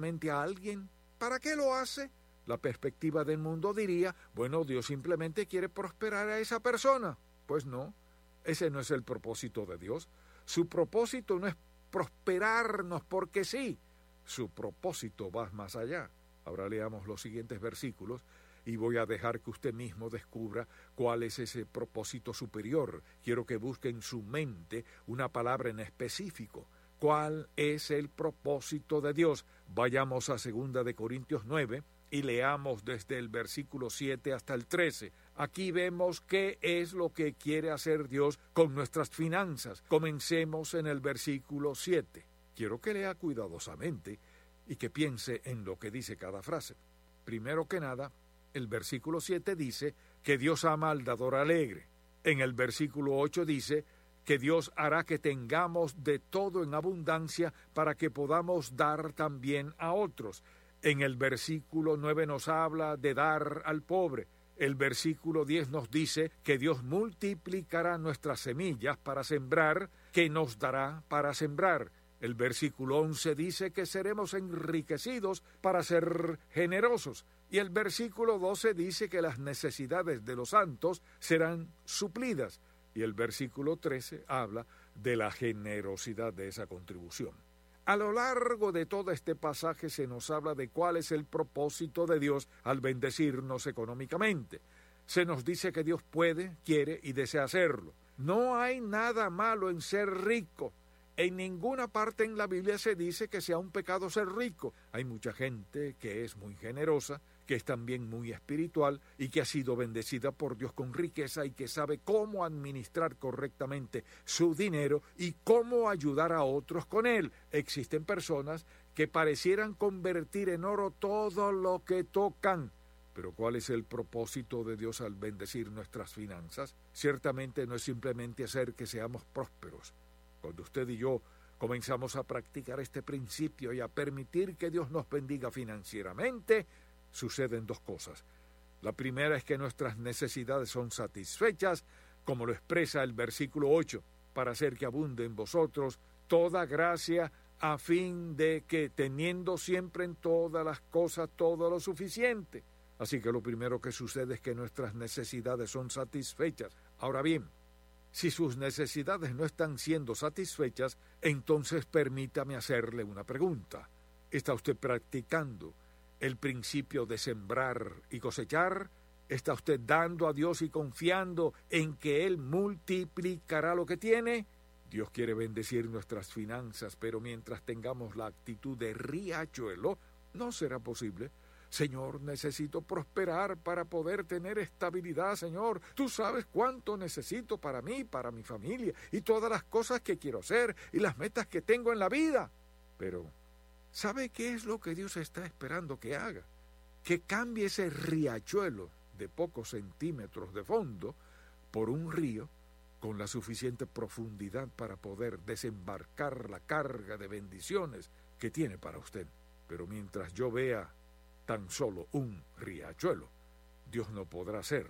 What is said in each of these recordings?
económicamente a alguien? ¿Para qué lo hace? La perspectiva del mundo diría, bueno, Dios simplemente quiere prosperar a esa persona. Pues no, ese no es el propósito de Dios. Su propósito no es prosperarnos porque sí. Su propósito va más allá. Ahora leamos los siguientes versículos y voy a dejar que usted mismo descubra cuál es ese propósito superior. Quiero que busque en su mente una palabra en específico. ¿Cuál es el propósito de Dios? Vayamos a 2 de Corintios 9 y leamos desde el versículo 7 hasta el 13. Aquí vemos qué es lo que quiere hacer Dios con nuestras finanzas. Comencemos en el versículo 7. Quiero que lea cuidadosamente y que piense en lo que dice cada frase. Primero que nada, el versículo 7 dice que Dios ama al dador alegre. En el versículo 8 dice que Dios hará que tengamos de todo en abundancia para que podamos dar también a otros. En el versículo 9 nos habla de dar al pobre. El versículo 10 nos dice que Dios multiplicará nuestras semillas para sembrar, que nos dará para sembrar. El versículo 11 dice que seremos enriquecidos para ser generosos. Y el versículo 12 dice que las necesidades de los santos serán suplidas. Y el versículo 13 habla de la generosidad de esa contribución. A lo largo de todo este pasaje se nos habla de cuál es el propósito de Dios al bendecirnos económicamente. Se nos dice que Dios puede, quiere y desea hacerlo. No hay nada malo en ser rico. En ninguna parte en la Biblia se dice que sea un pecado ser rico. Hay mucha gente que es muy generosa, que es también muy espiritual y que ha sido bendecida por Dios con riqueza y que sabe cómo administrar correctamente su dinero y cómo ayudar a otros con él. Existen personas que parecieran convertir en oro todo lo que tocan. Pero ¿cuál es el propósito de Dios al bendecir nuestras finanzas? Ciertamente no es simplemente hacer que seamos prósperos. Cuando usted y yo comenzamos a practicar este principio y a permitir que Dios nos bendiga financieramente, suceden dos cosas. La primera es que nuestras necesidades son satisfechas, como lo expresa el versículo 8, para hacer que abunde en vosotros toda gracia, a fin de que, teniendo siempre en todas las cosas todo lo suficiente. Así que lo primero que sucede es que nuestras necesidades son satisfechas. Ahora bien, si sus necesidades no están siendo satisfechas, entonces permítame hacerle una pregunta. ¿Está usted practicando el principio de sembrar y cosechar? ¿Está usted dando a Dios y confiando en que Él multiplicará lo que tiene? Dios quiere bendecir nuestras finanzas, pero mientras tengamos la actitud de riachuelo, no será posible. Señor, necesito prosperar para poder tener estabilidad, Señor. Tú sabes cuánto necesito para mí, para mi familia y todas las cosas que quiero hacer y las metas que tengo en la vida. Pero, ¿sabe qué es lo que Dios está esperando que haga? Que cambie ese riachuelo de pocos centímetros de fondo por un río con la suficiente profundidad para poder desembarcar la carga de bendiciones que tiene para usted. Pero mientras yo vea tan solo un riachuelo, Dios no podrá hacer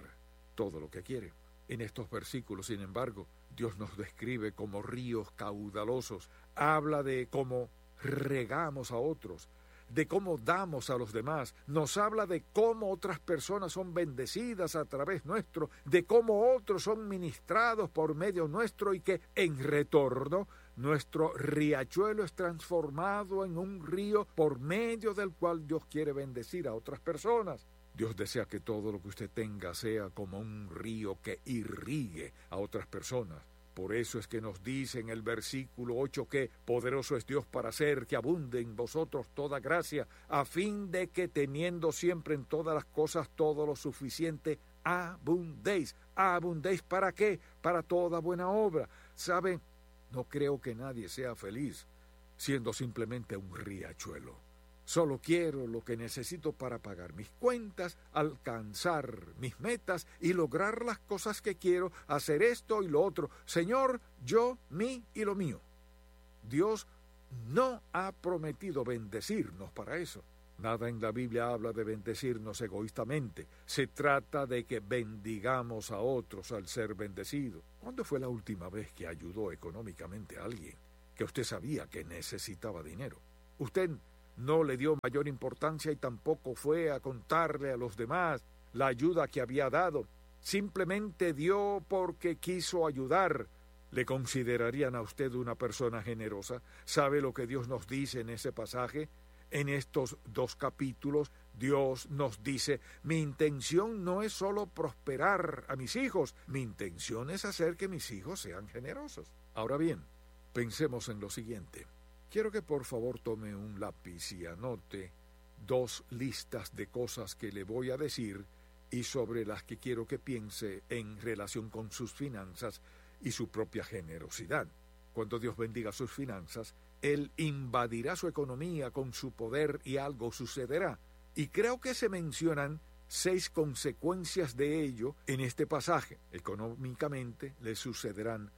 todo lo que quiere. En estos versículos, sin embargo, Dios nos describe como ríos caudalosos. Habla de cómo regamos a otros, de cómo damos a los demás. Nos habla de cómo otras personas son bendecidas a través nuestro, de cómo otros son ministrados por medio nuestro y que, en retorno, nuestro riachuelo es transformado en un río por medio del cual Dios quiere bendecir a otras personas. Dios desea que todo lo que usted tenga sea como un río que irrigue a otras personas. Por eso es que nos dice en el versículo 8 que poderoso es Dios para hacer que abunde en vosotros toda gracia, a fin de que teniendo siempre en todas las cosas todo lo suficiente, abundéis. ¿Abundéis para qué? Para toda buena obra. ¿Sabe? No creo que nadie sea feliz siendo simplemente un riachuelo. Solo quiero lo que necesito para pagar mis cuentas, alcanzar mis metas y lograr las cosas que quiero, hacer esto y lo otro. Señor, yo, mí y lo mío. Dios no ha prometido bendecirnos para eso. Nada en la Biblia habla de bendecirnos egoístamente. Se trata de que bendigamos a otros al ser bendecidos. ¿Cuándo fue la última vez que ayudó económicamente a alguien que usted sabía que necesitaba dinero? Usted No le dio mayor importancia y tampoco fue a contarle a los demás la ayuda que había dado. Simplemente dio porque quiso ayudar. ¿Le considerarían a usted una persona generosa? ¿Sabe lo que Dios nos dice en ese pasaje? En estos dos capítulos, Dios nos dice, mi intención no es solo prosperar a mis hijos, mi intención es hacer que mis hijos sean generosos. Ahora bien, pensemos en lo siguiente. Quiero que por favor tome un lápiz y anote dos listas de cosas que le voy a decir y sobre las que quiero que piense en relación con sus finanzas y su propia generosidad. Cuando Dios bendiga sus finanzas, Él invadirá su economía con su poder y algo sucederá. Y creo que se mencionan 6 consecuencias de ello en este pasaje. Económicamente le sucederán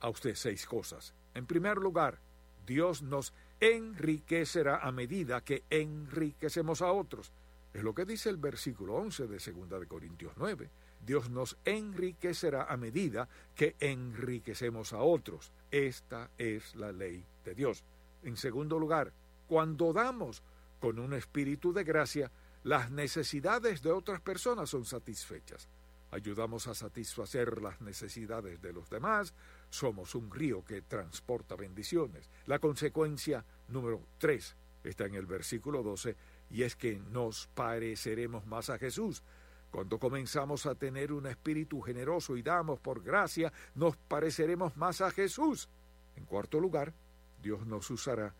a usted 6 cosas. En primer lugar, Dios nos enriquecerá a medida que enriquecemos a otros. Es lo que dice el versículo 11 de 2 de Corintios 9. Dios nos enriquecerá a medida que enriquecemos a otros. Esta es la ley de Dios. En segundo lugar, cuando damos con un espíritu de gracia, las necesidades de otras personas son satisfechas. Ayudamos a satisfacer las necesidades de los demás. Somos un río que transporta bendiciones. La consecuencia número 3 está en el versículo 12, y es que nos pareceremos más a Jesús. Cuando comenzamos a tener un espíritu generoso y damos por gracia, nos pareceremos más a Jesús. En cuarto lugar, Dios nos usará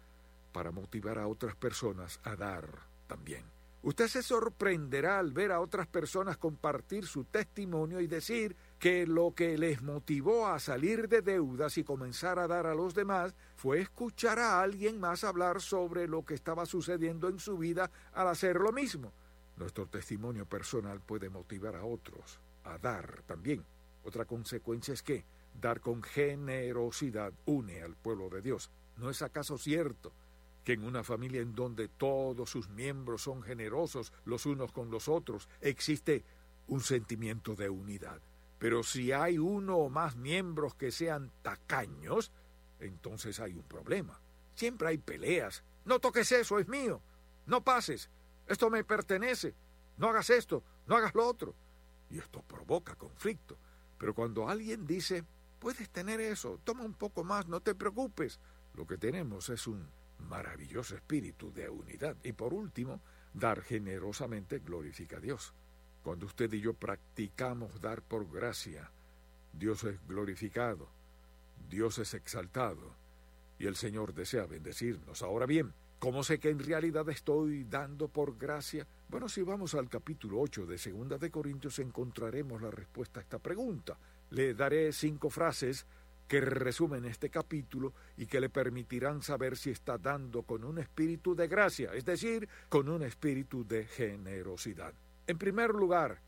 para motivar a otras personas a dar también. Usted se sorprenderá al ver a otras personas compartir su testimonio y decir que lo que les motivó a salir de deudas y comenzar a dar a los demás fue escuchar a alguien más hablar sobre lo que estaba sucediendo en su vida al hacer lo mismo. Nuestro testimonio personal puede motivar a otros a dar también. Otra consecuencia es que dar con generosidad une al pueblo de Dios. ¿No es acaso cierto que en una familia en donde todos sus miembros son generosos los unos con los otros, existe un sentimiento de unidad? Pero si hay uno o más miembros que sean tacaños, entonces hay un problema. Siempre hay peleas. No toques eso, es mío. No pases. Esto me pertenece. No hagas esto, no hagas lo otro. Y esto provoca conflicto. Pero cuando alguien dice, puedes tener eso, toma un poco más, no te preocupes, lo que tenemos es un maravilloso espíritu de unidad. Y por último, dar generosamente glorifica a Dios. Cuando usted y yo practicamos dar por gracia, Dios es glorificado, Dios es exaltado, y el Señor desea bendecirnos. Ahora bien, ¿cómo sé que en realidad estoy dando por gracia? Bueno, si vamos al capítulo 8 de 2 de Corintios encontraremos la respuesta a esta pregunta. Le daré 5 frases que resumen este capítulo y que le permitirán saber si está dando con un espíritu de gracia, es decir, con un espíritu de generosidad. En primer lugar,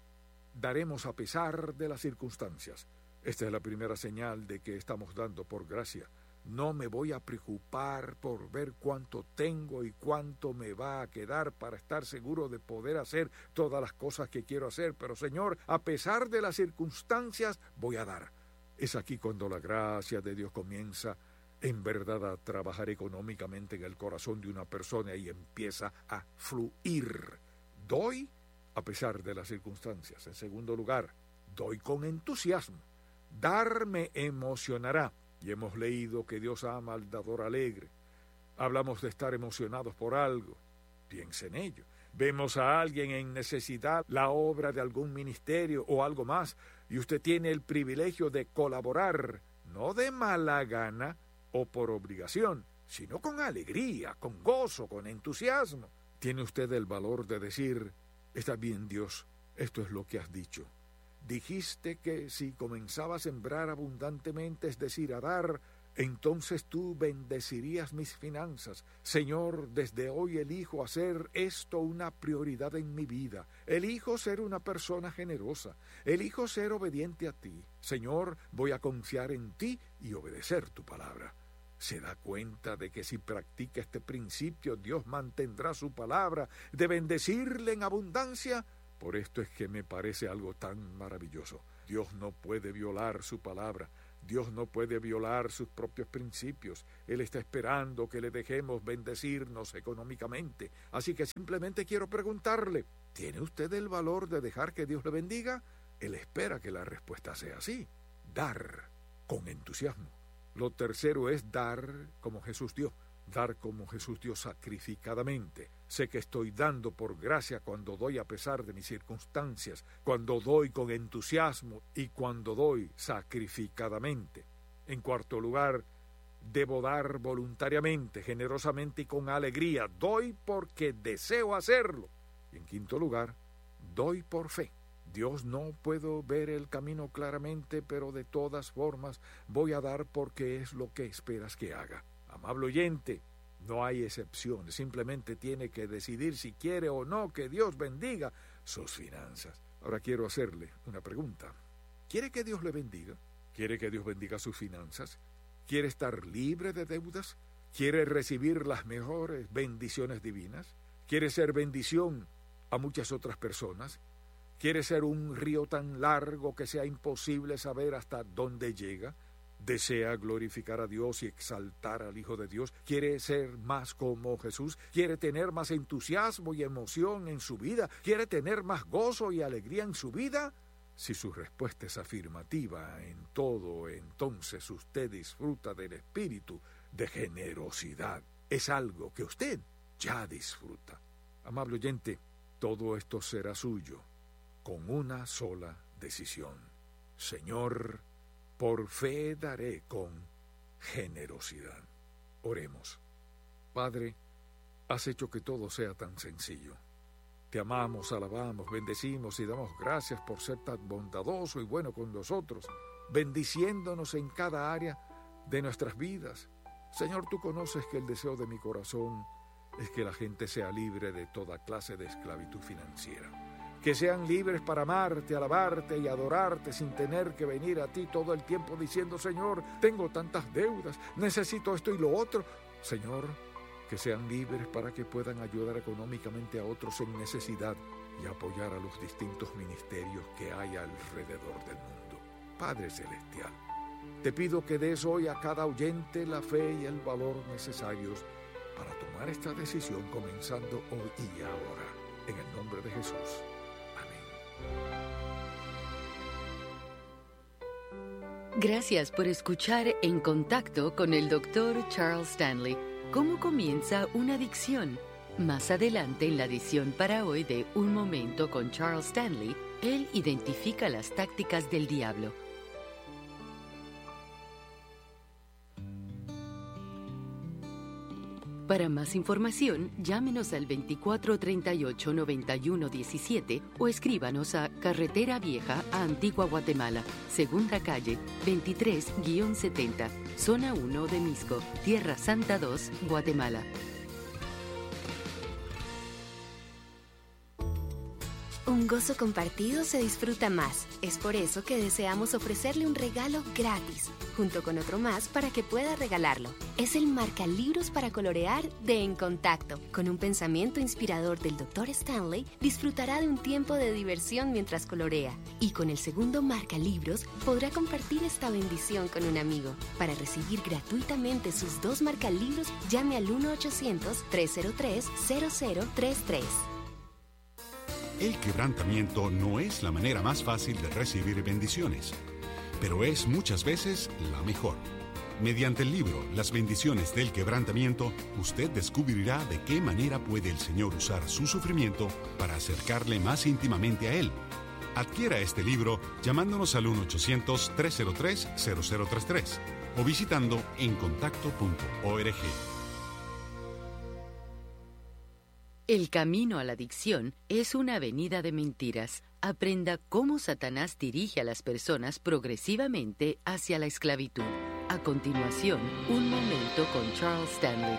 daremos a pesar de las circunstancias. Esta es la primera señal de que estamos dando por gracia. No me voy a preocupar por ver cuánto tengo y cuánto me va a quedar para estar seguro de poder hacer todas las cosas que quiero hacer. Pero, Señor, a pesar de las circunstancias, voy a dar. Es aquí cuando la gracia de Dios comienza en verdad a trabajar económicamente en el corazón de una persona y empieza a fluir. Doy a pesar de las circunstancias. En segundo lugar, doy con entusiasmo. Dar me emocionará. Y hemos leído que Dios ama al dador alegre. Hablamos de estar emocionados por algo. Piensa en ello. Vemos a alguien en necesidad, la obra de algún ministerio o algo más, y usted tiene el privilegio de colaborar, no de mala gana o por obligación, sino con alegría, con gozo, con entusiasmo. Tiene usted el valor de decir, está bien, Dios, esto es lo que has dicho. Dijiste que si comenzaba a sembrar abundantemente, es decir, a dar, entonces tú bendecirías mis finanzas. Señor, desde hoy elijo hacer esto una prioridad en mi vida. Elijo ser una persona generosa. Elijo ser obediente a ti. Señor, voy a confiar en ti y obedecer tu palabra. Se da cuenta de que si practica este principio, Dios mantendrá su palabra de bendecirle en abundancia. Por esto es que me parece algo tan maravilloso. Dios no puede violar su palabra. Dios no puede violar sus propios principios. Él está esperando que le dejemos bendecirnos económicamente. Así que simplemente quiero preguntarle, ¿tiene usted el valor de dejar que Dios le bendiga? Él espera que la respuesta sea sí. Dar con entusiasmo. Lo tercero es dar como Jesús dio. Dar como Jesús dio sacrificadamente. Sé que estoy dando por gracia cuando doy a pesar de mis circunstancias, cuando doy con entusiasmo y cuando doy sacrificadamente. En cuarto lugar, debo dar voluntariamente, generosamente y con alegría. Doy porque deseo hacerlo. Y en quinto lugar, doy por fe. Dios, no puedo ver el camino claramente, pero de todas formas voy a dar porque es lo que esperas que haga. Amable oyente, no hay excepciones, simplemente tiene que decidir si quiere o no que Dios bendiga sus finanzas. Ahora quiero hacerle una pregunta. ¿Quiere que Dios le bendiga? ¿Quiere que Dios bendiga sus finanzas? ¿Quiere estar libre de deudas? ¿Quiere recibir las mejores bendiciones divinas? ¿Quiere ser bendición a muchas otras personas? ¿Quiere ser un río tan largo que sea imposible saber hasta dónde llega? ¿Desea glorificar a Dios y exaltar al Hijo de Dios? ¿Quiere ser más como Jesús? ¿Quiere tener más entusiasmo y emoción en su vida? ¿Quiere tener más gozo y alegría en su vida? Si su respuesta es afirmativa en todo, entonces usted disfruta del espíritu de generosidad. Es algo que usted ya disfruta. Amable oyente, todo esto será suyo con una sola decisión. Señor, por fe daré con generosidad. Oremos. Padre, has hecho que todo sea tan sencillo. Te amamos, alabamos, bendecimos y damos gracias por ser tan bondadoso y bueno con nosotros, bendiciéndonos en cada área de nuestras vidas. Señor, tú conoces que el deseo de mi corazón es que la gente sea libre de toda clase de esclavitud financiera. Que sean libres para amarte, alabarte y adorarte sin tener que venir a ti todo el tiempo diciendo, Señor, tengo tantas deudas, necesito esto y lo otro. Señor, que sean libres para que puedan ayudar económicamente a otros en necesidad y apoyar a los distintos ministerios que hay alrededor del mundo. Padre Celestial, te pido que des hoy a cada oyente la fe y el valor necesarios para tomar esta decisión comenzando hoy y ahora. En el nombre de Jesús. Gracias por escuchar En Contacto con el Dr. Charles Stanley. ¿Cómo comienza una adicción? Más adelante en la edición para hoy de Un Momento con Charles Stanley, él identifica las tácticas del diablo. Para más información, llámenos al 2438-9117 o escríbanos a Carretera Vieja a Antigua Guatemala, Segunda Calle, 23-70, Zona 1 de Mixco, Tierra Santa 2, Guatemala. Un gozo compartido se disfruta más. Es por eso que deseamos ofrecerle un regalo gratis, junto con otro más para que pueda regalarlo. Es el marcalibros para colorear de En Contacto. Con un pensamiento inspirador del Dr. Stanley, disfrutará de un tiempo de diversión mientras colorea. Y con el segundo marcalibros podrá compartir esta bendición con un amigo. Para recibir gratuitamente sus dos marcalibros, llame al 1-800-303-0033. El quebrantamiento no es la manera más fácil de recibir bendiciones, pero es muchas veces la mejor. Mediante el libro Las bendiciones del quebrantamiento, usted descubrirá de qué manera puede el Señor usar su sufrimiento para acercarle más íntimamente a Él. Adquiera este libro llamándonos al 1-800-303-0033 o visitando encontacto.org. El camino a la adicción es una avenida de mentiras. Aprenda cómo Satanás dirige a las personas progresivamente hacia la esclavitud. A continuación, Un Momento con Charles Stanley.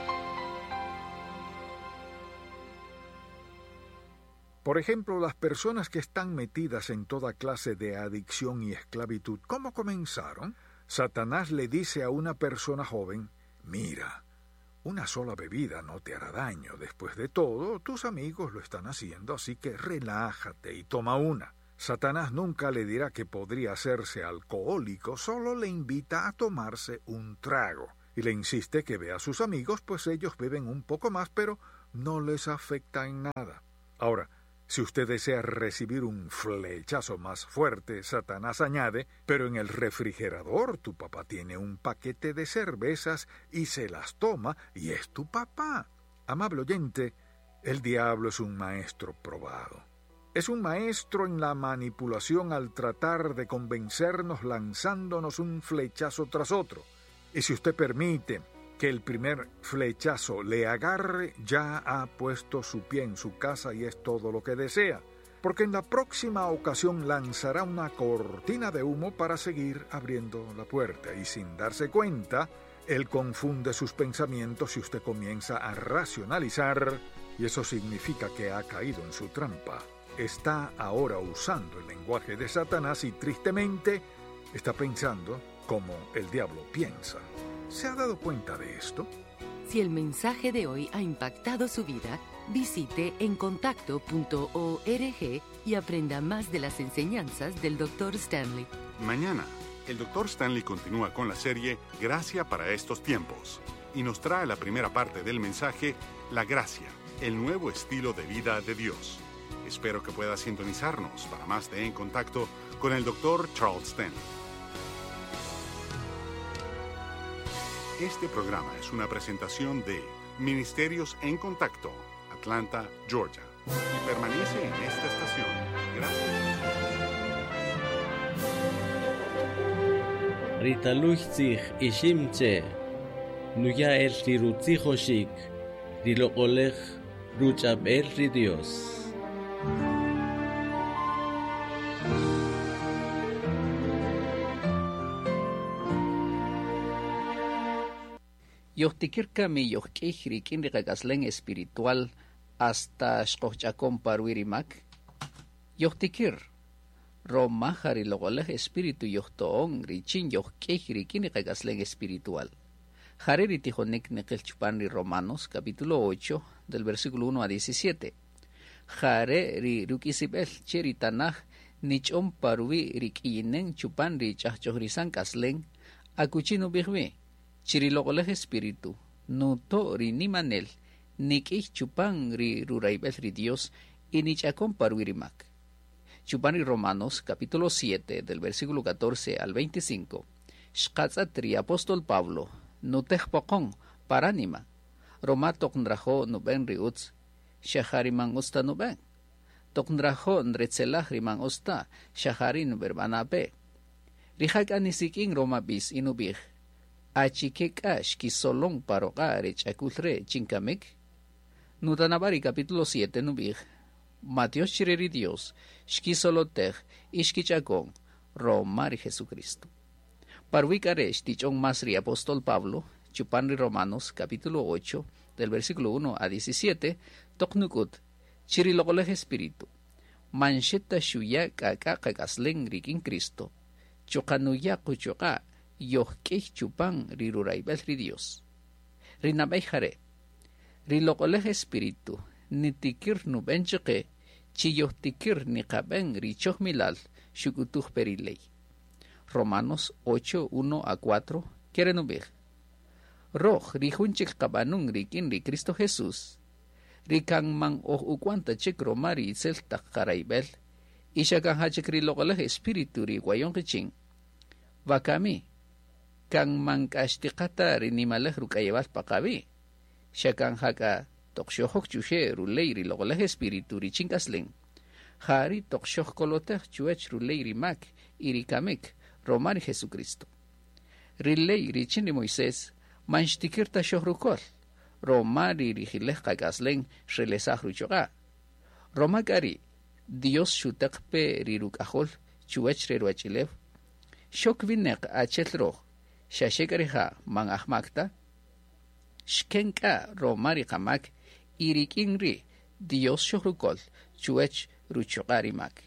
Por ejemplo, las personas que están metidas en toda clase de adicción y esclavitud, ¿cómo comenzaron? Satanás le dice a una persona joven, mira, una sola bebida no te hará daño. Después de todo, tus amigos lo están haciendo, así que relájate y toma una. Satanás nunca le dirá que podría hacerse alcohólico, solo le invita a tomarse un trago. Y le insiste que vea a sus amigos, pues ellos beben un poco más, pero no les afecta en nada. Ahora, si usted desea recibir un flechazo más fuerte, Satanás añade, pero en el refrigerador tu papá tiene un paquete de cervezas y se las toma y es tu papá. Amable oyente, el diablo es un maestro probado. Es un maestro en la manipulación al tratar de convencernos lanzándonos un flechazo tras otro. Y si usted permite que el primer flechazo le agarre, ya ha puesto su pie en su casa y es todo lo que desea, porque en la próxima ocasión lanzará una cortina de humo para seguir abriendo la puerta y sin darse cuenta, él confunde sus pensamientos y usted comienza a racionalizar y eso significa que ha caído en su trampa. Está ahora usando el lenguaje de Satanás y tristemente está pensando como el diablo piensa. ¿Se ha dado cuenta de esto? Si el mensaje de hoy ha impactado su vida, visite encontacto.org y aprenda más de las enseñanzas del Dr. Stanley. Mañana, el Dr. Stanley continúa con la serie Gracia para estos tiempos y nos trae la primera parte del mensaje La Gracia, el nuevo estilo de vida de Dios. Espero que pueda sintonizarnos para más de En Contacto con el Dr. Charles Stanley. Este programa es una presentación de Ministerios en Contacto, Atlanta, Georgia, y permanece en esta estación. Gracias. Ritaluchtzij iximche, nuya el rirutzijoxik, riloqolej ruch'ab'el ri Dios. Yohtikirkami yohk'ij rik'in riqak'aslen espiritual hasta xqojch'akon parwirimak. Yohtikir, romaja riloqolej espíritu yohto'on richin yohk'ij rik'in riqak'aslen espiritual. Jare ritijonik niqil chupan ri Romanos, capítulo 8, del versículo 1 a 17. Jare ri ruk'isib'el che ri tanaj nich'on parwi rik'iyinen chupan ri ch'ajch'ojrisan k'aslen akuchi nub'ij wi. Chiriloqolej espíritu, nuto ri nimanel, nik'ij chupan ri rurayb'el ri Dios y nich'akon parwirimak. Chupan ri Romanos, capítulo 7, del versículo 14 al 25, xqatz'at ri apóstol Pablo, nutej poqon, paránima, roma toq nrajo nub'en ri utz, xa man usta nub'en. Toq nrajo nretzelaj ri man usta, xa jari nub'erb'anape. Rijak anisik'in roma b'is y nub'ij, achike k'a xkisolon paroq'a re ch'akul re chinkamik. Nutanabari capítulo 7 nub'ij, Matios chireri Dios, xkisolotej y xkich'akon, roma ri Jesucristo. Parwikare xtich'on mas ri apóstol Pablo, chupan ri Romanos capítulo 8, del versículo 1 a 17, toq nuk'ut, chiri loq'olej espíritu, manxeta xuya k'ak'a qak'aslen rik'in Cristo, chuqanuya quchuq'a yohk'ij chupan ri rurayb'el ri Dios. Ri nab'ey jare, ri loq'olej espíritu, nitikir nub'en chaqe, chi yohtikir niqab'en ri chojmilal xuk'utuj peri ley. Romanos 8, 1 a 4, kere nub'ij. Roj ri jun chik qab'anun rik'in ri Cristo Jesús, ri kan man oj ukwanta chik roma ri itzel taq qarayb'el, y xa kan jachik ri loq'olej espíritu ri wayon qichin. Wakami, kan man k'axtiqata ri nimalej ruk'ayewal paqawi, xa kan jaka toq xojok chuxe ruley ri loq'olej espíritu ri chink'aslen. Jari toq xojkolotej chuwech ruley ri mak y ri kamik roma ri Jesucristo. Ri ley richin ri Moisés man xtikir ta xojrukol, roma ri rijilej qak'aslen xrelesaj ruchoq'a. Roma k'a ri, Dios xuteq pe ri ruk'ajol chuwech re ruwachilew, xok wineq achel roj, xaxe k'a rija' man ajmak ta, xken k'a roma ri qamak y rik'in ri' Dios xojrukol chuwech ruchoq'a ri mak.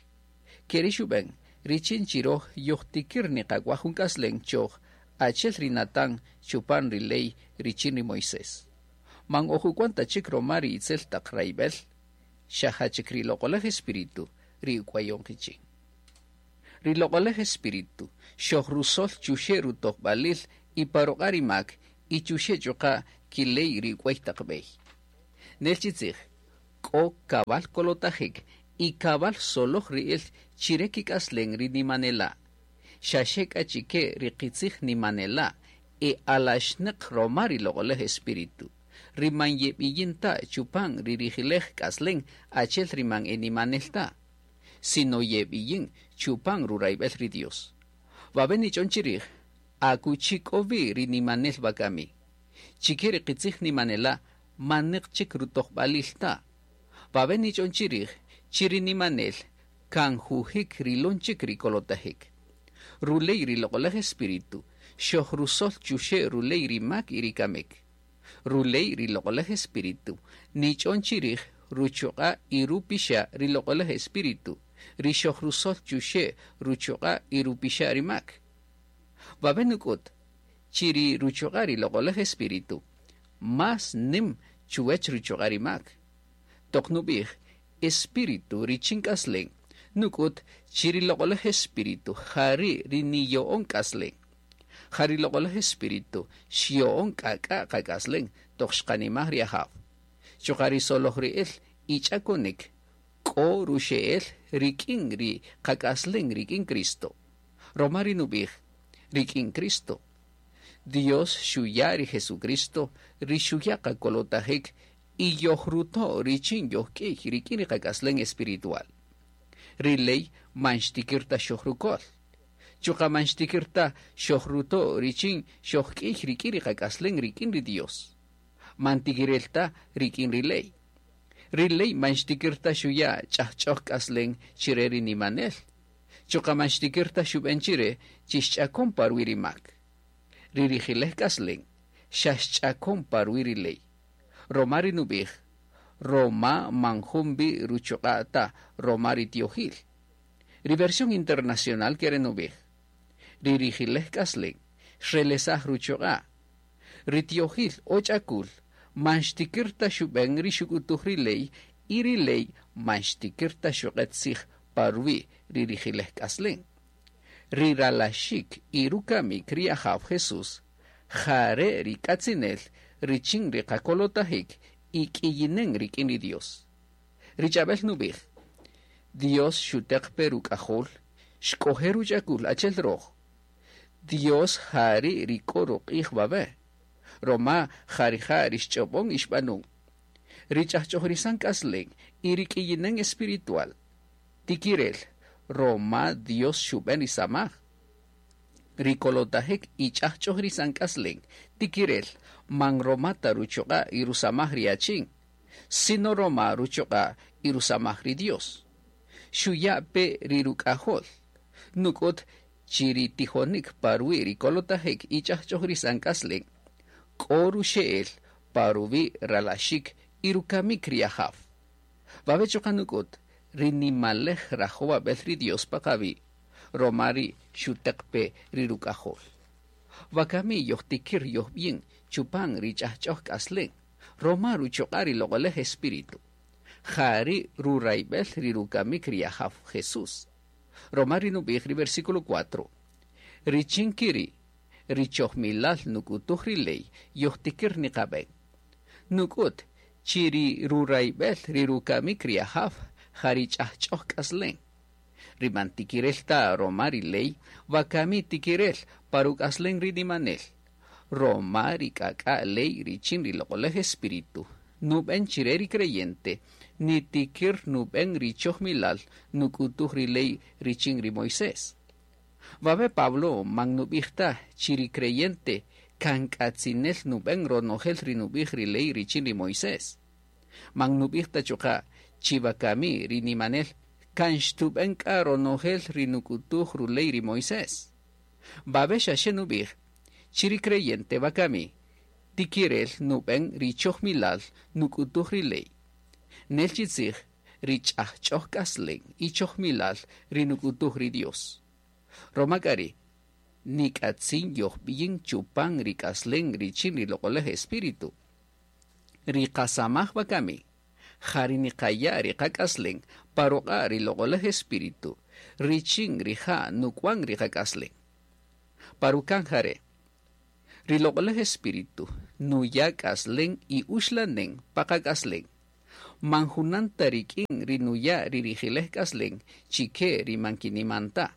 Keri xub'en, richin chiroj yojtikir niqak'waj jun k'aslen choj achel ri Natán chupan ri ley richin ri Moisés. Man ojuk'wan chik roma ri itzel taq rayb'el, xa jachik ri loq'olej espíritu ri uk'wayon qichin. Ri loq'olej Espíritu xojrusol chuxe' rutojb'alil y pa ruq'a' ri mak y chuxe' chuqa' kiley ri uk'wäy taq b'ey. Nel chi tzij, k'o kab'al kolotajik y kab'al soloj ri'il chire kik'aslen ri nimanela'. Xa xe k'a chike ri qitzij nimanela' e alaxnäq roma ri loq'olej Espíritu, ri man yeb'iyin ta chupan ri rijilej k'aslen achi'el ri man e nimanel ta, sino yeb'iyin chupan rurayb'el ri Dios. Wawe' nich'on chirij akuchi k'o wi ri nimanel wakami. Chike ri qitzij nimanela' manäq chik rutojb'alil ta. Wawe' nich'on chirij chi ri nimanel kan jujik rilon chik ri kolotajik. Ruley ri loq'olej Espíritu xojrusol chuxe' ruley ri mak y ri kamik. Ruley ri loq'olej Espíritu nich'on chirij ruchuq'a' y rupixa' ri loq'olej Espíritu, ri xojrusol chuxe' ruchuq'a' y rupixa' ri mak. Wawe' nuk'ut chi ri ruchuq'a' ri loq'olej Espíritu más nim chuwech ruchuq'a' ri mak. Toq nub'ij Espíritu richin k'aslen, nuk'ut chi ri loq'olej Espíritu jari' ri niyo'on k'aslen. Ja ri loq'olej Espíritu xyo'on k'ak'a' qak'aslen toq xqanimaj ri Ajaw. Chuqa' ri soloj ri'il y ch'akonik k'o ruxe'el rik'in ri qak'aslen rik'in Cristo. Roma ri nub'ij rik'in Cristo. Dios xuya' ri Jesucristo ri xuya' qakolotajik y yojruto' richin yojk'iy rik'in ri qak'aslen espiritual. Ri ley man xtikir ta xojrukol. Chuqa' man xtikir ta xojruto' richin xojk'iy rik'in ri qak'aslen rik'in ri Dios. Man tikirel ta rik'in ri ley. Ri ley man xtikir ta xuya' ch'ajch'oj k'aslen chire ri nimanel. Chuqa' man xtikir ta xub'en chire chi xch'akon pa ruwi' ri mak. Ri rijilej k'aslen xa xch'akon pa ruwi' ri ley. Roma ri nub'ij, roma man jun wi ruchuq'a' ta roma ri tiojil. Ri versión internacional kere nub'ij, ri rijilej k'aslen xrelesaj ruchuq'a'. Ri tiojil o ch'akul man xtikir ta xub'en ri xuk'utuj ri ley y ri ley man xtikir ta xuq'et tzij pa ruwi' ri rijilej k'aslen. Ri ralaxik y rukamik ri Ajaw Jesús, jare' ri k'atzinel richin ri qakolotajik y k'iyinen rik'in ri Dios. Ri ch'ab'el nub'ij, Dios xuteq pe ruk'ajol, xk'oje ruch'akul achel roj. Dios jari' ri k'o ruq'ij wawe', roma jarija' ri xch'ob'on y xb'anun. Ri ch'ajch'ojrisan k'aslen y ri k'iyinen espiritual. Tikirel, roma Dios xub'en ri samaj. Ri kolotajik y ch'ajch'ojrisan k'aslen, tikirel, man roma ta ruchuq'a' y rusamaj ri achin, sino roma ruchuq'a' y rusamaj ri Dios. Xuya' pe ri ruk'ajol. Nuk'ut chi ri tijonik pa ruwi' ri kolotajik y ch'ajch'ojrisan k'aslen, k'o ruxe'el pa ruwi' ralaxik y rukamik ri Ajaw. Wawe' chuqa' nuk'ut ri nimalej rajowab'el ri Dios pa qawi', roma ri xuteq pe ri ruk'ajol. Wakami yojtikir yojb'yin chupan ri ch'ajch'oj k'aslen, roma ruchuq'a' ri loq'olej Espíritu. Jari' rurayb'el ri rukamik ri Ajaw Jesús. Roma ri nub'ij ri versículo 4. Richin kiri, ri chojmilal nuk'utuj ri ley yojtikir niqab'en. Nuk'ut chi ri rurayb'el ri rukamik ri Ajaw jari ch'ajch'oj k'aslen. Ri man tikirel ta roma ri ley, wakami tikirel pa ruk'aslen ri nimanel. Roma ri k'ak'a' ley richin ri loq'olej Espíritu, nub'en chire ri creyente, nitikir nub'en ri chojmilal nuk'utuj ri ley richin ri Moisés. Wawe' Pablo man nub'ij ta chi ri creyente kan k'atzinel nub'en ronojel ri nub'ij ri ley richin ri Moisés. Man nub'ij ta chuqa' chi wakami ri nimanel kan xtub'en k'a ronojel ri nuk'utuj ruley ri Moisés. Wawe' xa xe nub'ij chi ri creyente wakami tikirel nub'en ri chojmilal nuk'utuj ri ley. Nel chi tzij ri ch'ajch'oj k'aslen y chojmilal ri nuk'utuj ri Dios. Roma k'a ri' nik'atzin yojb'iyin chupan ri k'aslen richin ri loq'olej Espíritu. Ri qasamaj wakami, ja ri niqaya' ri qak'aslen pa ruq'a' ri loq'olej Espíritu, Richin rija' nuk'wan ri qak'aslen. Pa rukan jare', ri Loq'oläj Espíritu nuya' k'aslen y uxlanen pa qak'aslen. Man junan ta rik'in ri nuya' ri rijilej k'aslen chi ke ri man kiniman ta.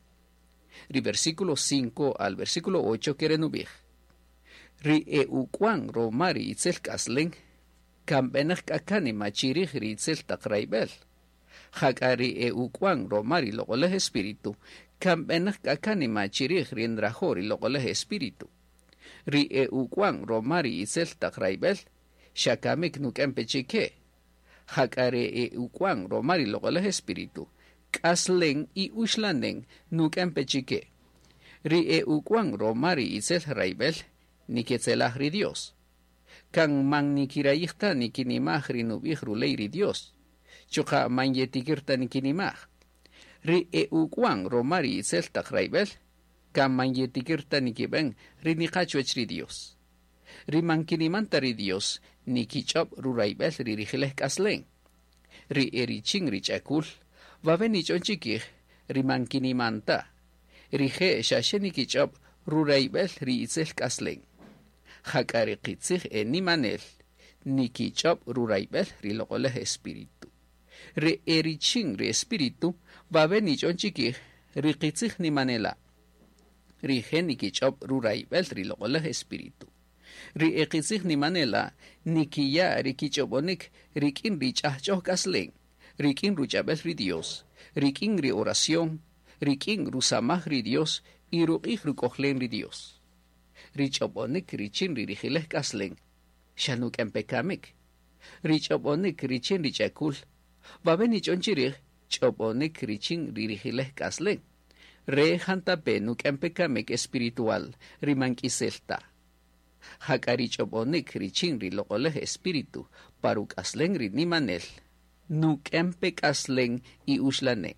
Ri versículo 5 al versículo 8 kere nub'ij: Ri e uk'wan roma ri itzel k'aslen, kan b'enäq k'a kanima chi rij ri itzel taq rayb'äl. Jak'a ri e uk'wan roma ri Loq'oläj Espíritu, kan b'enäq k'a kanima chi rij ri nrajo' ri Loq'oläj Espíritu. Ri e uk'wan roma ri itzel taq rayb'äl, xa kamik nuk'en pe chi ke. Jak'a ri e uk'wan roma ri Loq'oläj Espíritu, k'aslen y uxlanen nuk'en pe chi ke. Ri e uk'wan roma ri itzel rayb'äl, niketzelaj ri Dios. Kan man nikirayij ta nikinimaj ri nub'ij ruley ri Dios. Chuqa' man yetikir ta nikinimaj. Ri e uk'wan roma ri itzel taq rayb'äl, kan man yetikir ta nikib'en ri niqa chuwäch ri Dios. Ri man kiniman ta ri Dios, nikich'ob' rurayb'äl ri rijilej k'aslen. Ri e richin ri ch'akul, wawe' nich'on chikij ri man kiniman ta. Rije' xa xe nikich'ob' rurayb'äl ri itzel k'aslen. Jak'a ri qitzij e nimanel, nikich'ob' rurayb'äl ri Loq'oläj Espíritu. Ri e richin ri Espíritu, wawe' nich'on chikij ri qitzij nimanela'. Rije' nikich'ob' rurayb'äl ri Loq'oläj Espíritu. Ri e qitzij nimanela' nikiya' ri kich'ob'onik rik'in ri ch'ajch'oj k'aslen, rik'in ruch'ab'äl ri Dios, rik'in ri oración, rik'in rusamaj ri Dios y ruq'ij ruk'ojlen ri Dios. Ri ch'ob'onik richin ri rijilej k'aslen, xa nuk'en pe kamik. Ri ch'ob'onik richin ri ch'akul, wawe' nich'on chi rij ch'ob'onik richin ri rijilej k'aslen. Re jantape nuk'en pe kamik espiritual ri man k'isel ta. Jak'a ri ch'ob'onik richin ri Loq'oläj Espíritu pa ruk'aslen ri nimanel, nuk'en pe k'aslen y uxlanen.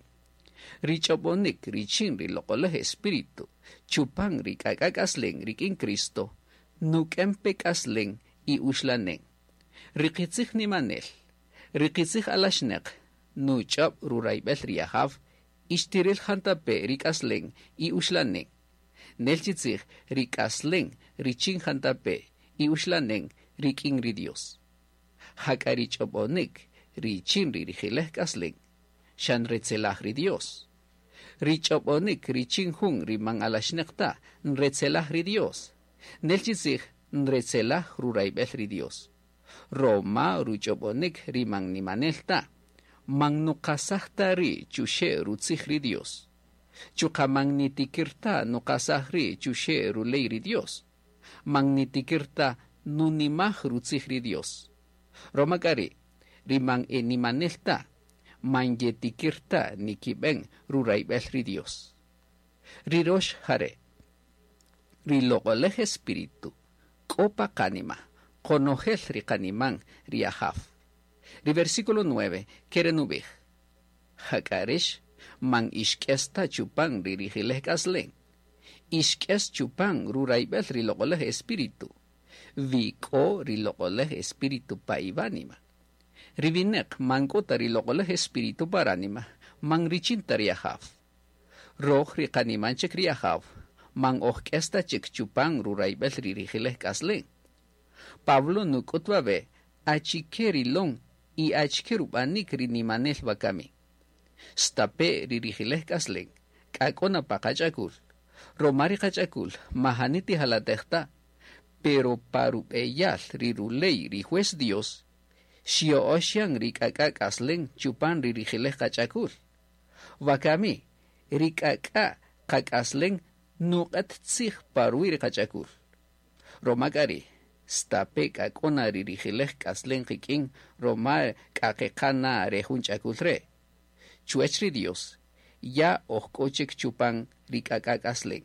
Ri ch'ob'onik richin ri Loq'oläj Espíritu chupan ri k'ak'a' k'aslen rik'in Cristo, nuk'en pe k'aslen y uxlanen. Ri qitzij nimanel, ri qitzij alaxnäq, nuch'ob' rurayb'äl ri Ajaw, ixtiril jantape ri k'aslen y uxlanen. Nel chi tzij ri k'aslen richin jantape y uxlanen rik'in ri Dios. Jak'a ri ch'ob'onik richin ri rijilej k'aslen, xa nretzelaj ri Dios. Ri ch'ob'onik richin jun ri man alaxnäq ta, nretzelaj ri Dios. Nel chi tzij nretzelaj rurayb'äl ri Dios. Roma ruch'ob'onik ri man nimanel ta, man nuqasaj ta ri' chuxe' rutzij ri Dios. Chuqa' man nitikir ta nuqasaj ri' chuxe' ruley ri Dios. Man nitikir ta nunimaj rutzij ri Dios. Roma k'a ri', ri man e nimanel ta, man yetikir ta nikib'en rurayb'äl ri Dios. Ri rox jare', ri Loq'oläj Espíritu k'o pa qanima, qonojel ri qaniman ri Ajaw. Ri versículo 9 kere nub'ij: Jak'a rïx man ixk'es ta chupan ri rijilej k'aslen. Ixk'es chupan rurayb'äl ri Loq'oläj Espíritu. Wi k'o ri Loq'oläj Espíritu pa iwánima. Ri winäq man k'o ta ri Loq'oläj Espíritu pa ránima, man richin ta ri Ajaw. Röj ri qaniman chik ri Ajaw, man oj k'es ta chik chupan rurayb'äl ri rijilej k'aslen. Pablo nuk'üt wawe' achike rilon y achike rub'anik ri nimanel wakami. Stape' ri rijilej k'aslen, k'a k'o na pa qach'akul. Roma ri qach'akul majani tijalatej ta, pero pa rub'eyal ri ruley ri juez Dios, xya'öx yan ri k'ak'a' k'aslen chupan ri rijilej qach'akul. Wakami, ri k'ak'a' qak'aslen nuq'ät tzij pa ruwi' ri qach'akul. Roma k'a ri', stape' k'a k'o na ri rijilej k'aslen qik'in roma k'a qeqan na re jun ch'akul re'. Chuwäch ri Dios, ya oj k'o chik chupan ri k'ak'a' k'aslen,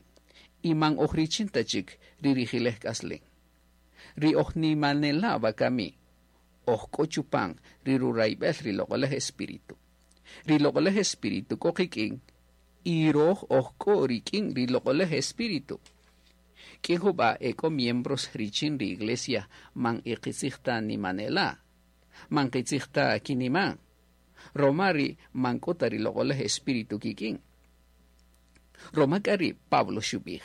y man oj richin ta chik ri rijilej k'aslen. Ri oj nimanela' wakami, oj k'o chupan ri rurayb'äl ri Loq'oläj Espíritu. Ri Loq'oläj Espíritu k'o qik'in y röj oj k'o rik'in ri Loq'oläj Espíritu. K'in jub'a' e k'o miembros richin ri iglesia man e qitzij ta nimanela', man qitzij ta kiniman. Roma ri man k'o ta ri Loq'oläj Espíritu kik'in. Roma k'a ri Pablo xub'ij,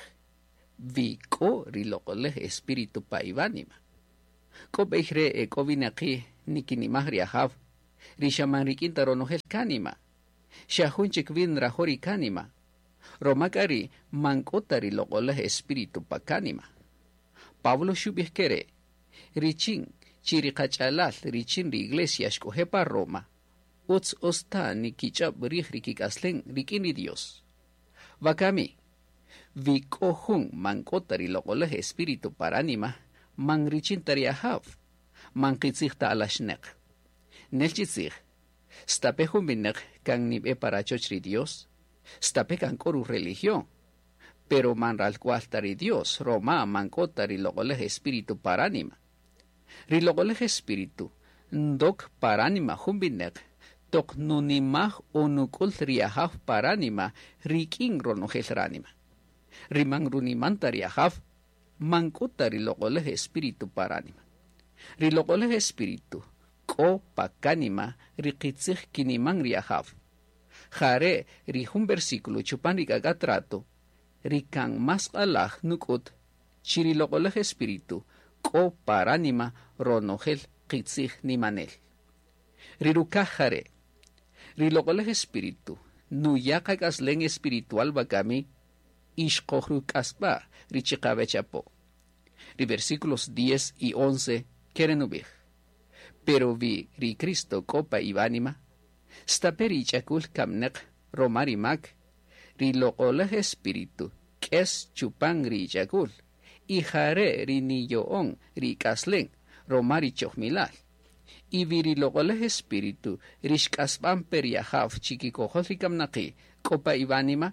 wi k'o ri Loq'oläj Espíritu pa iwánima. K'o b'ey re' e k'o winaqi' nikinimaj ri Ajaw, ri xa man rik'in ta ronojel kánima, xa jun chik wi nrajo' ri kánima, roma k'a ri' man k'o ta ri Loq'oläj Espíritu pa kánima. Pablo xub'ij ke re', richin chi ri qach'alal richin ri iglesia xk'oje' pa Roma, utz utz ta nikich'öb' rij ri kik'aslen rik'in ri Dios. Wakami, wi k'o jun man k'o ta ri Loq'oläj Espíritu pa ránima, man richin ta ri Ajaw, man qitzij ta alaxnäq. Nel chi tzij, stape' jun winäq kan nib'e pa rachoch ri Dios, stape' kan k'o ru-religión, pero man ralk'wal ta ri Dios roma man k'o ta ri Loq'oläj Espíritu pa ránima. Ri Loq'oläj Espíritu ndok pa ránima jun winäq toq nunimaj o nuk'ül ri Ajaw pa ránima rik'in ronojel ránima. Ri man runiman ta ri Ajaw, man k'o ta ri Loq'oläj Espíritu pa ránima. Ri Loq'oläj Espíritu k'o pa kánima ri qitzij kiniman ri Ajaw. Ja re' ri jun versículo chupan ri k'ak'a' trato ri kan más q'alaj nuk'üt chi ri Loq'oläj Espíritu k'o pa ránima ronojel qitzij nimanel. Ri rukaj ja re', ri Loq'oläj Espíritu nuya' qak'aslen espiritual wakami y xqojruk'asb'a' ri chiqawech apo. Ri versículos 10 y 11 ke re' nub'ij, Pero wi ri Cristo k'o pa iwánima, stape' ri ich'akul kamnäq roma ri mak, ri Loq'oläj Espíritu k'es chupan ri ich'akul, y ja re' ri niyo'on ri ik'aslen roma ri chojmilal. Y wi ri Loq'oläj Espíritu ri xk'asb'an pe ri Ajaw chikikojol ri kamnaqi' k'o pa iwánima,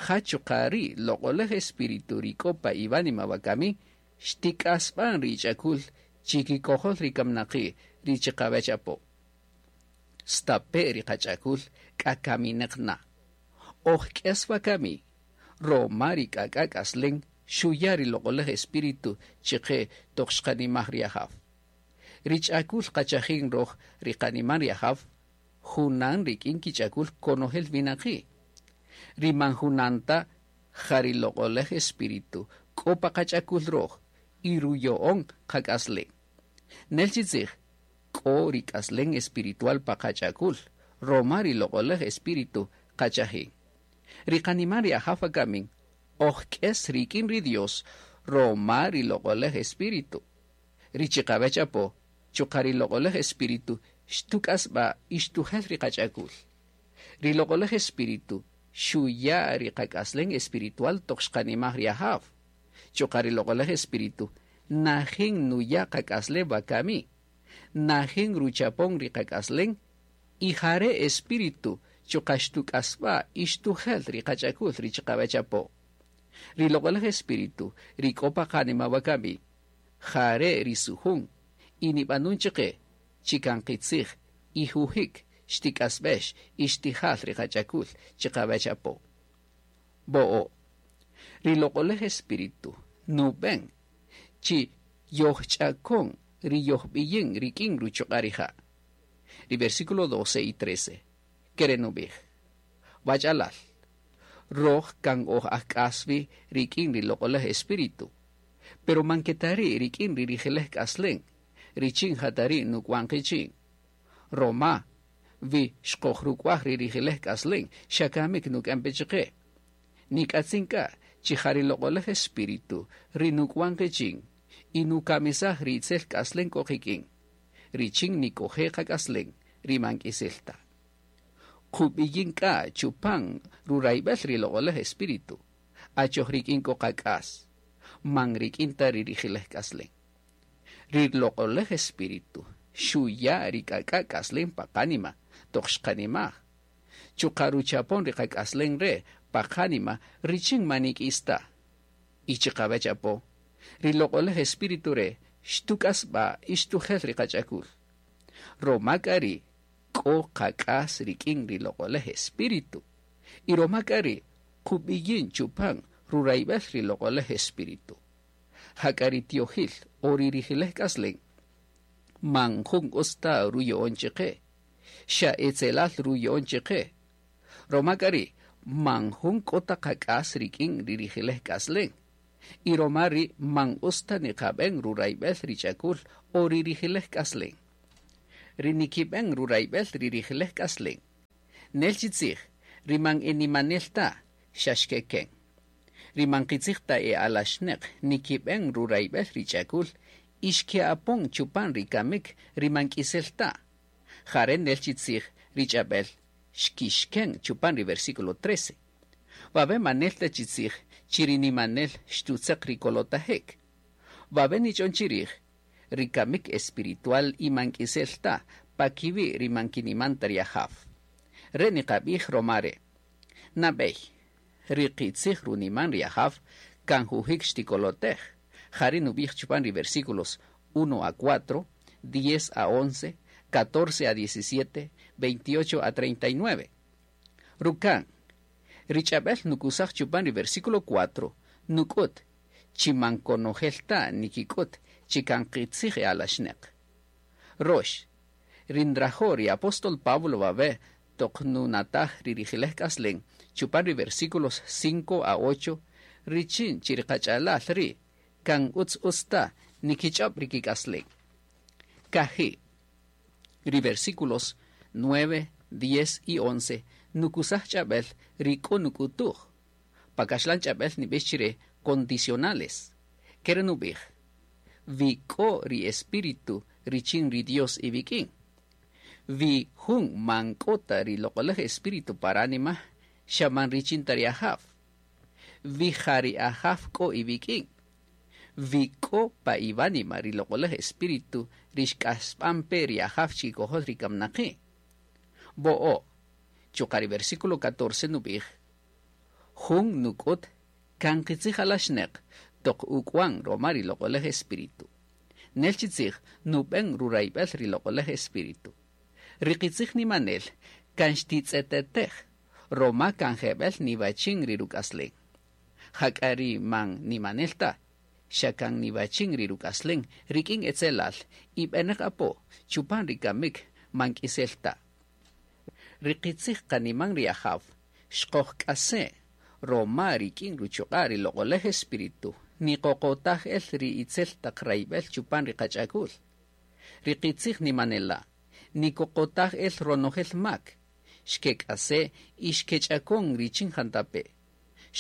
ja chuqa' ri Loq'oläj Espíritu ri k'o pa iwánima wakami xtik'asb'an ri ich'akul chikikojol ri kamnaqi' ri chiqawech apo. Stape' ri qach'akul k'a kaminäq na, oj k'es wakami roma ri k'ak'a' k'aslen xuya' ri Loq'oläj Espíritu chiqe toq xqanimaj ri Ajaw. Ri ch'akul qachajin roj ri qaniman ri Ajaw, junan rik'in kich'akul konojel winaqi'. Ri man junan ta ja ri Loq'oläj Espíritu k'o pa qach'akul roj y ruyo'on qak'aslen. Nel chi tzij, k'o ri k'aslen espiritual pa qach'akul roma ri Loq'oläj Espíritu qachajin. Ri qaniman ri Ajaw wakamin oj k'es rik'in ri Dios roma ri Loq'oläj Espíritu. Ri chiqawech apo, chuqa' ri Loq'oläj Espíritu xtuk'asb'a' y xtujel ri qach'akul. Ri Loq'oläj Espíritu xuya' ri qak'aslen espiritual toq xqanimaj ri Ajaw. Chuqa' ri Loq'oläj Espíritu najin nuya' qak'aslen wakami, najin ruchapon ri qak'aslen y ja re' Espíritu chuqa' xtuk'asb'a' y xtujel ri qach'akul ri chiqawech apo. Ri Loq'oläj Espíritu ri k'o pa qanima wakami, ja re' ri sujun y nib'anun chiqe chi kan qitzij y jujik xtik'asb'ex y xtijal ri qach'akul chiqawech apo. Bo'o', ri Loq'oläj Espíritu nub'en chi yojch'akon ri yojb'iyin rik'in ruchuq'a' rija'. Ri versículo 12 y 13, ke re' nub'ij, Wach'alal, roj kan oj ajk'as wi rik'in ri Loq'oläj Espíritu, pero man ke ta ri' rik'in ri rijiläj k'aslen richin ja ta ri' nuk'wan qichin. Roma wi xqojruk'waj ri rijiläj k'aslen xa kamik nuk'en pe chiqe. Nik'atzin k'a chi ja ri Loq'oläj Espíritu ri nuk'wan qichin y nukamisaj ri itzel k'aslen k'o qik'in, richin nik'oje' qak'aslen ri man k'isel ta. Qub'iyin k'a chupan rurayb'el ri Loq'oläj Espíritu, achoj rik'in k'o qak'as, man rik'in ta ri rijiläj k'aslen. Ri Loq'oläj Espíritu xuya' ri k'ak'a' k'aslen pa qánima toq xqanimaj, chuqa' ruchapon ri qak'aslen re' pa qánima richin man nik'is ta. Y chiqawech apo, ri Loq'oläj Espíritu re' xtuk'asb'a' y xtujel ri qach'akul. Roma k'a ri' k'o qak'as rik'in ri Loq'oläj Espíritu, y roma k'a ri' qub'iyin chupan rurayb'el ri Loq'oläj Espíritu. Jak'a ri tiojil o ri rijiläj k'aslen man jun utz ta ruyo'on chiqe, xa etzelal ruyo'on chiqe. Roma k'a ri' Man jun k'o ta qak'as rik'in ri rijilej k'aslen. Y roma ri man utz ta niqab'en rurayb'el ri ch'akul o ri rijilej k'aslen. Ri nikib'en rurayb'el ri rijilej k'aslen. Nel chi tzij, ri man enimanel ta, xa xkeken. Ri man qitzij ta e alaxneq nikib'en rurayb'el ri ch'akul y xke'apon chupan ri kamik ri man k'isel ta. Jare nel chi tzij ri ch'ab'el xkixken chupan ri versículo 13. Wawe manel ta chi tzij chi ri nimanel xtutzeq ri kolotajek. Wawe nich'on chirij ri kamik espiritual y man k'isel ta pa kiwi' ri man kiniman ta ri Ajaw. Re niqab'ij romare. Nab'ey, ri qitzij runiman ri Ajaw kan jujik xtikolotej. Jari nub'ij chupan ri versículos 1 a 4, 10 a 11, 14 a 17, 28 a 39. Rukan, ri ch'ab'el nukusaj chupan ri versículo 4, nuk'ut, chi man konojel ta nikik'ut chi kan qitzij e alaxneq. Rox, ri nrajo' ri apóstol Pablo wawe toq nunataj ri rijilej k'aslen chupan ri versículos 5 a 8, richin chi ri qach'alal ri' kan utz utz ta nikich'ob' ri kik'aslen. Kaji', ri versículos 9, 10 y 11 nukusaj ch'ab'el ri k'o nuk'utuj. Pa kaxlan ch'ab'el nib'ix chire condicionales. Kere nub'ij, wi k'o ri espíritu richin ri Dios iwik'in. Wi jun man k'o ta ri loq'olaj espíritu pa ránima, xa man richin ta ri Ajaw. Wi ja ri Ajaw k'o iwik'in. Wi k'o pa iwánima ri loq'olaj espíritu ri xk'asb'an pe ri Ajaw chikikojol ri kamnaqi'. Bo'o, chuqa' ri versículo 14 nub'ij, jun nuk'ut kan qitzij alaxneq toq uk'wan roma ri loq'olaj espíritu. Nel chi tzij nub'en rurayb'el ri loq'olaj espíritu. Ri qitzij nimanel kan xtitz'etetej roma kan jeb'el niwachin ri ruk'aslen. Jak'a ri man nimanel ta, xa kan niwachin ri ruk'aslen rik'in etzelal y b'eneq apo chupan ri kamik man k'isel ta. Ri qitzij qaniman ri Ajaw xqojk'ase' roma rik'in ruchuq'a' ri loq'olaj espíritu niqoqotaj el ri itzel taq rayb'el chupan ri qach'akul. Ri qitzij nimanela' nikoqotaj el ronojel mak, xkek'ase' y xkech'akon richin jantape'.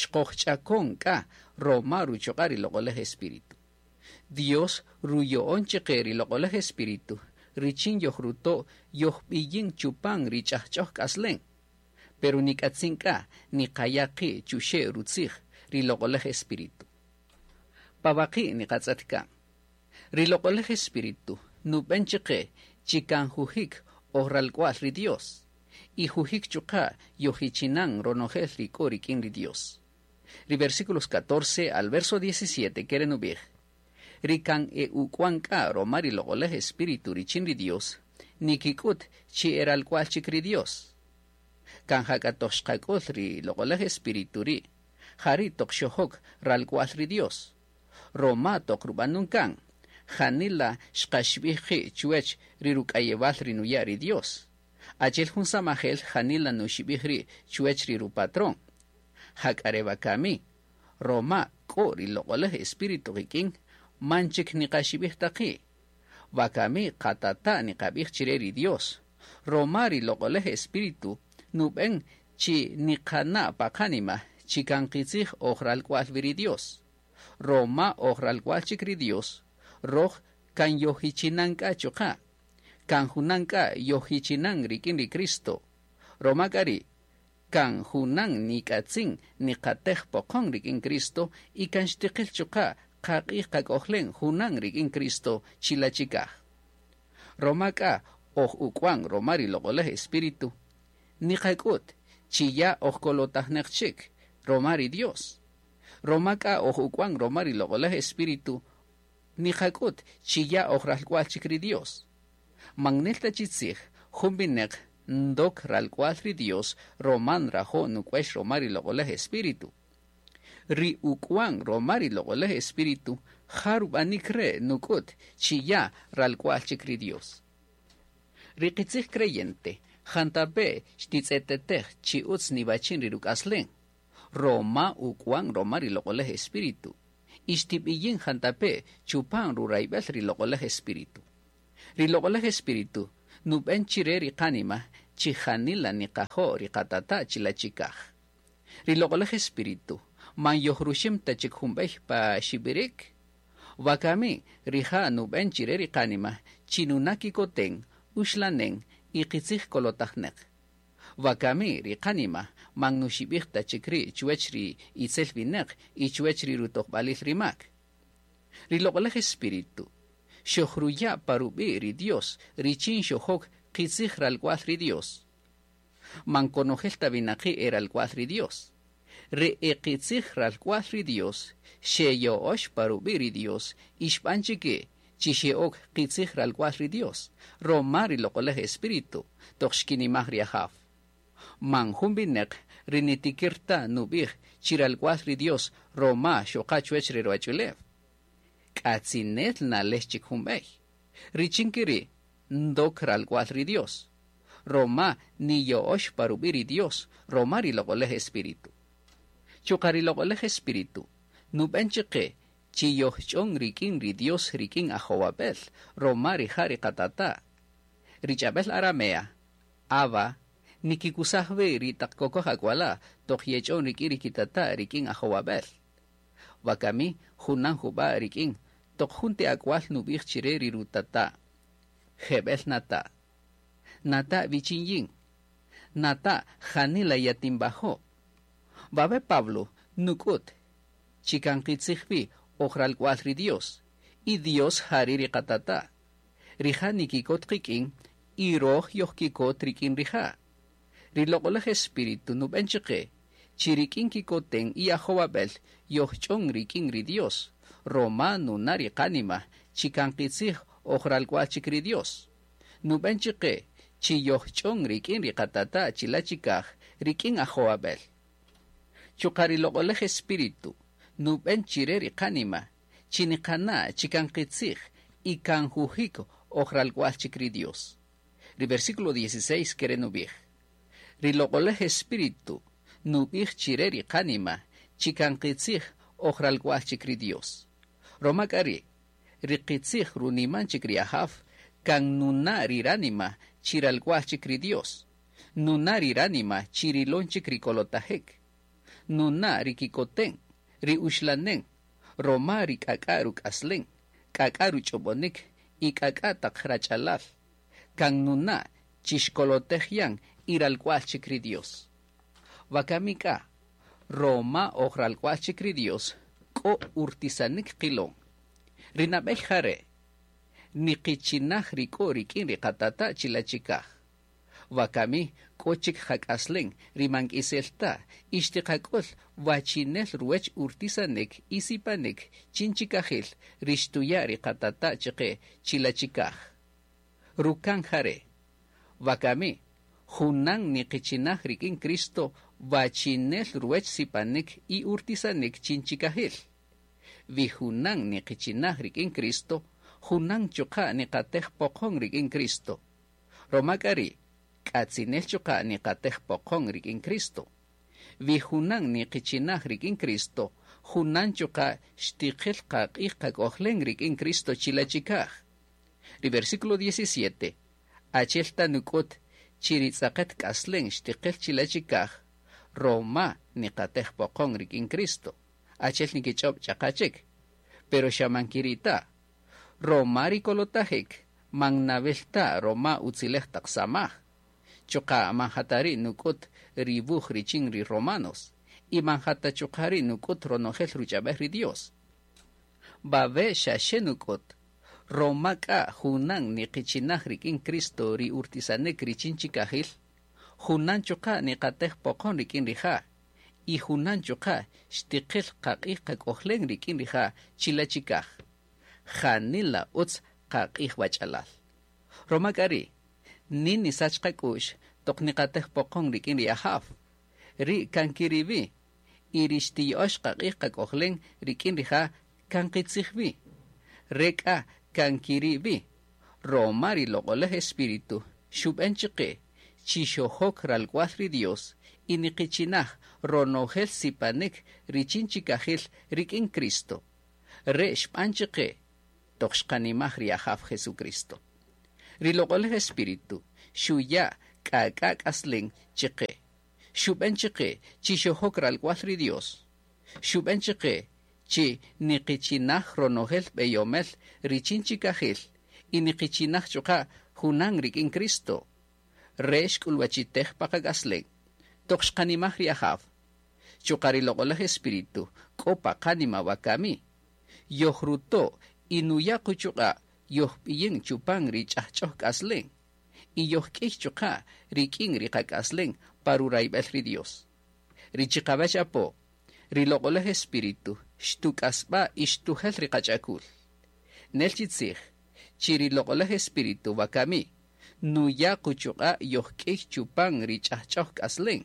Xqojch'akon k'a roma ruchuq'a' ri loq'olaj espíritu. Dios ruyo'on chaqe ri loq'olaj espíritu richin yojruto' yojb'iyin chupan ri ch'ajch'oj k'aslen. Pero nik'atzin k'a niqaya' qi' chuxe' rutzij ri loq'olaj espíritu. Pawaqi' niqatz'et kan. Ri loq'olaj espíritu nub'en chaqe chi kan jujik oj ralk'wa'l ri Dios y jujik chuqa' yojichinan ronojel ri k'o rik'in ri Dios. Ri versículos 14 al verso 17 kere nub'ij, ri kan e uk'wan k'a roma ri loq'olaj espíritu richin ri Dios, nikik'ut chi e ralk'wa'l chik ri Dios. Kan jak'a toq xqak'ul ri loq'olaj espíritu ri', jari' toq xojok ralk'wa'l ri Dios. Roma toq rub'anun kan, janila xqaxib'ij qi' chuwech ri ruk'ayewal ri nuya' ri Dios. Achi'el jun samajel janila nuxib'ij ri' chuwech ri rupatrón. Jak'a re wakami, roma k'o ri loq'olaj espíritu qik'in, man chik niqaxib'ij ta qi'. Wakami qatata' niqab'ij chire ri Dios. Roma ri loq'olaj espíritu nub'en chi niqana' pa qanima chi kan qitzij oj ralk'wa'l wi ri Dios. Roma oj ralk'wa'l chik ri Dios, roj kan yojichinan k'a chuqa'. Kan junan k'a yojichinan rik'in ri Cristo. Roma k'a ri' kan junan nik'atzin niqatej poqon rik'in Cristo y kan xtiqil chuqa' qaq'ij qak'ojlen junan rik'in Cristo chilachikaj. Roma k'a oj uk'wan roma ri loq'olaj espíritu, niqak'ut chi ya oj kolotajneq chik roma ri Dios. Roma k'a oj uk'wan roma ri loq'olaj espíritu, niqak'ut chi ya oj ralk'wa'l chik ri Dios. Man nel ta chi tzij jun wineq ndok ralk'wa'l ri Dios roma nrajo' nuk'wex roma ri loq'olaj espíritu. Ri uk'wan roma ri loq'olaj espíritu ja rub'anik re' nuk'ut chi ya ralk'wa'l chik ri Dios. Ri qitzij creyente Jantape' xtitz'etetej chi utz niwachin ri ruk'aslen, roma uk'wan roma ri Loq'olej Espíritu, y xtib'iyin jantape' chupan rurayb'el ri Loq'olej Espíritu. Ri Loq'olej Espíritu nub'en chire ri qanima chi janila niqajo' ri qatata' chila' chikaj. Ri Loq'olej Espíritu man yojruxim ta chik jun b'ey pa xib'irik. Wakami rija' nub'en chire ri qanima chi nuna' kikoten, uxlanen y qitzij kolotajneq. Wakami ri qanima man nuxib'ij ta chik ri' chuwech ri itzel winäq y chuwech ri rutojb'alil ri mak. Ri Loq'olej Espíritu xojruya' pa rub'i' ri Dios richin xojok qitzij ralk'wal ri Dios. Man konojel ta winaqi' e ralk'wal ri Dios. Ri e qitzij ralk'wal ri Dios xeya'öx pa rub'i' ri Dios y xb'an chike chi xe'ok qitzij ralk'wal ri Dios, roma ri Loq'olej Espíritu toq xkinimaj ri Ajaw. Man jun winäq ri nitikir ta nub'ij chi ralk'wal ri Dios roma xoqa chuwech re ruwach'ulew. K'atzinel nalex chik jun b'ey. Richin ke ri' ndok ralk'wal ri Dios, roma niya'öx pa rub'i' ri Dios roma ri Loq'olej Espíritu. Chuqa' ri Loq'olej Espíritu nub'en chiqe chi yojch'on rik'in ri Dios rik'in ajowab'el roma rija' ri qatata'. Ri ch'ab'el aramea, Abba, nikikusaj wi ri taq kokoj ak'wala' toq yech'on rik'in ri kitata' rik'in ajowab'el. Wakami junan jub'a' rik'in toq jun ti ak'wal nub'ij chire ri rutata', Jeb'el nata'. Nata' wichin yin. Nata' janila yatinwajo'. Wawe' Pablo nuk'üt chi kan qitzij wi oj ralk'wal ri Dios, y Dios ja ri' ri qatata'. Rija' nikikot qik'in y röj yojkikot rik'in rija'. Ri Loq'oläj Espíritu nub'en chiqe chi rik'in kikoten y ajowab'el yojch'on rik'in ri Dios, roma nuna' ri qanima chi kan qitzij oj ralk'wal chik ri Dios. Nub'en chiqe chi yojch'on rik'in ri qatata' chila' chikaj rik'in ajowab'el. Chuqa' ri Loq'oläj Espíritu nub'en chire ri qanima chi niqana' chi kan qitzij y kan jujik oj ralk'wal chik ri Dios. Ri versículo 16 kere' nub'ij, Ri Loq'oläj Espíritu nub'ij chire ri qanima chi kan qitzij oj ralk'wal chik ri Dios. Roma k'a ri', ri qitzij runiman chik ri Ajaw kan nuna' ri ranima chi ralk'wal chik ri Dios, nuna' ri ranima chi rilon chik ri kolotajik, nuna' ri kikoten, ri uxlanen, roma ri k'ak'a' ruk'aslen, k'ak'a' ruch'ob'onik y k'ak'a' taq rach'alal, kan nuna' chi xkolotej yan y ralk'wal chik ri Dios. Wakami k'a, roma oj ralk'wal chik ri Dios, k'o urtisanik qilon. Ri nab'ey ja re', niqichinaj ri k'o rik'in ri qatata' chila' chikaj. Wakami k'o chik qak'aslen ri man k'isel ta y xtiqak'ül wachinel ruwech urtisanik y sipanik chin chikajil ri xtuya' ri qatata' chiqe chila' chikaj. Rukan ja re', Wakami, junan niqichinaj rik'in Cristo wachinel ruwech sipanik y urtisanik chin chikajil. Wi junan niqichinaj rik'in Cristo, junan chuqa' niqatej poqon rik'in Cristo. Roma k'a ri', k'atzinel chuqa' niqatej poqon rik'in Cristo. Wi junan niqichinaj rik'in Cristo, junan chuqa' xtiqil qaq'ij qak'ojlen rik'in Cristo chila' chikaj. Ri versículo 17, achi'el ta nuk'üt chi ri tz'aqet k'aslen xtiqil chila' chikaj, roma niqatej poqon rik'in Cristo, achi'el nikich'ob' ch'aqa chik. Pero xa man kiri' ta. Roma ri kolotajik man nawil ta roma utzilej taq samaj. Chuqa' man ja ta ri' nuk'üt ri wuj richin ri Romanos, y man ja ta chuqa' ri' nuk'üt ronojel ruch'ab'el ri Dios. Wawe' xa xe nuk'üt, roma k'a junan niqichinaj rik'in Cristo ri urtisanik richin chikajil, junan chuqa' niqatej poqon rik'in rija', y junan chuqa' xtiqil qaq'ij qak'ojlen rik'in rija' chila' chikaj. Janila utz qaq'ij wach'alal. Roma k'a ri', nin nisach qak'u'x toq niqatej poqon rik'in ri Ajaw. Ri' kan kiri' wi, y ri xtiya'öx qaq'ij qak'ojlen rik'in rija' kan qitzij wi. Re k'a kan kiri' wi, roma ri Loq'olej Espíritu xub'en chiqe. chi xojok ralk'wal ri Dios y niqichinaj ronojel sipanik richin chikajil rik'in Cristo. Re' xb'an chiqe toq xqanimaj ri Ajaw Jesucristo. Ri Loq'olej Espíritu xuya' k'ak'a' k'aslen chiqe. Xub'en chiqe chi xojok ralk'wal ri Dios. Xub'en chiqe chi niqichinaj ronojel b'eyomel richin chikajil y niqichinaj chuqa' junan rik'in Cristo. Re' xk'ulwachitej pa qak'aslen. Toq xqanimaj ri Ajaw. Chuqa' ri Loq'olej Espíritu k'o pa qánima wakami. Yojruto' y nuya' quchuq'a' yojb'iyin chupan ri ch'ajch'oj k'aslen. Y yojk'iy chuqa' rik'in ri qak'aslen pa rurayb'el ri Dios. Ri chiqawech apo, ri Loq'olej Espíritu xtuk'asb'a y xtujel ri qach'akul. Nel chi tzij, chi ri Loq'olej Espíritu wakami, nuya' quchuq'a' yojk'iy chupan ri ch'ajch'oj k'aslen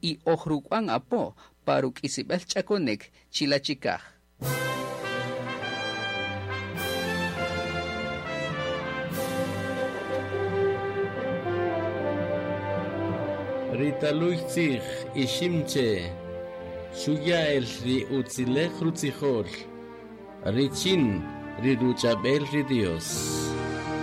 y ojruk'wan apo pa ruk'isib'el ch'akonik chila' chikaj. Ri taluy tzij iximche xuya el ri utzilej rutzijol richin ri ruchab'el ri Dios.